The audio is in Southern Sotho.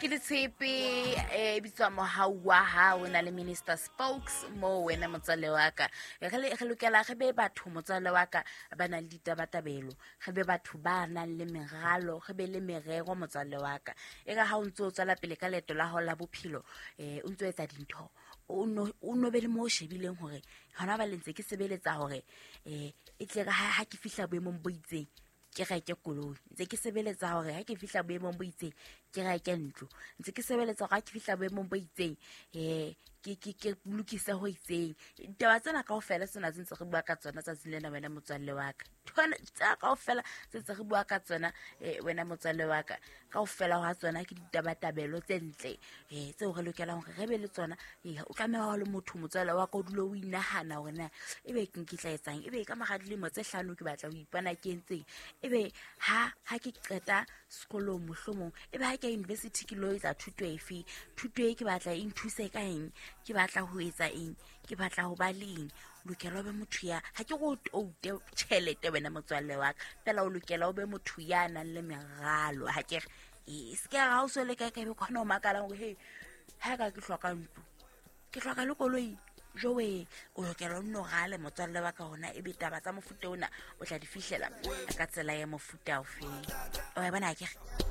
Ke letshepe e bitswa mohau wa hao na le Minister Spokes mo wena motswalle wa ka. Re lokela re be batho motswalle wa ka ba nang le ditabatabelo, re be batho ba nang le meralo, re be le merero motswalle wa ka. E re ha o ntse o tswela pele ka leeto la hao la bophelo, o ntso etsa dintho, o no be le mo o shebileng hore hona ba le ntse ke sebeletsa hore e tle re ha ke fihla boemong bo itseng ke reke koloi, ntse ke sebeletsa hore ha ke fihla boemong bo itseng ke reke ntlo, ntse ke sebeletsa hore ha ke fihla boemong bo itseng ke lokise ho itseng. Ditaba tsena kaofela tsena tse ntse re bua ka tsona tsatsing lena wena motswalle wa ka. Tsena kaofela tse ntse re bua ka tsona wena motswalle wa ka, kaofela hwa tsona ke ditabatabelo tse ntle tseo re lokelang hore re be le tsona. O tlameha ho le motho motswalle wa ka, o dule o inahana hore na ebe ke ke tla etsang, ebe ka mora dilemo tse hlano ke batla ho ipona ke entseng, ebe ha ke qeta sekolong mohlomong, ebe ha ke ya university ke lo etsa thuto efe, thuto e ke batla e nthuse ka eng, ke batla ho etsa eng, ke batla ho ba le eng. O lokela o be motho ya, ha ke go toute tjhelete wena motswalle wa ka, fela o lokela o be motho ya nang le meralo. Ha ke re, se ke ra o so le kae kae, be kgona ho makala hore he, ha ka ke hloka ntlo, ke hloka le koloi, jowe. O lokela o nno rale motswalle wa ka hona, ebe taba tsa mofuta ona o tla di fihlela ka tsela ya mofuta ofeng. O e bona, ha ke re?